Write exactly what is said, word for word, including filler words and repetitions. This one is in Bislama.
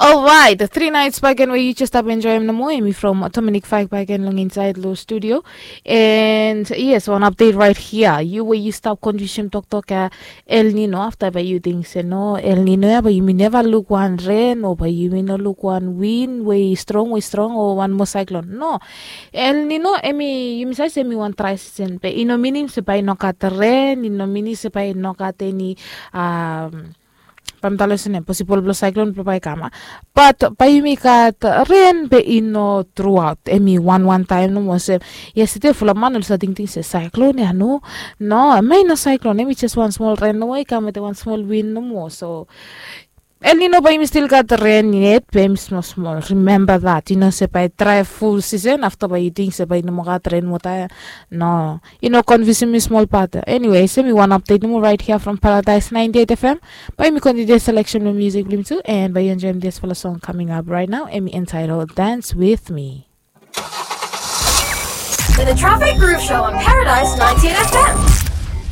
Alright, tri naits baken we yu jes stap enjoim nomo, em i from Dominic Fike baken long insaed long studio. And yes, wan update right here. Yu we yu stap konfyusim toktok ya El Nino, afta bae yu ting se no, El Nino ya bae yumi neva luk wan ren o bae yumi no luk wan win we i strong we i strong o wan moa saiklon. No, El Nino em i, yumi save se em i wan drai sisen, be i no minim se bae i no gat ren, i no minim se bae i no gat eni, um, bae mi talem olsem, posibol blong saiklon blong bae i kam. Bat bae yumi gat ren, be i no truaot, em i wan wan taem nomo olsem. Yestede fulap man oli save tingting se saiklon ya, no. No, em i no saiklon, em i jes wan smol ren nomo i kam wetem wan smol win nomo. So El Nino bae yumi stil gat ren yet, be em i smol smol. Remember that, yu no se bae i drai ful sisen afta bae yu ting se bae i no moa gat ren wota ya. No, yu no konfyusim mi smol, bat anyway, em i wan update nomo right here from Paradise ninety-eight F M. Bae yumi kontiniu selection blong musik blong yumi tu, and bae yu enjoim disfala song coming up right now, em i entitled Dance With Me. The Traffic Groove Show on Paradise ninety-eight F M.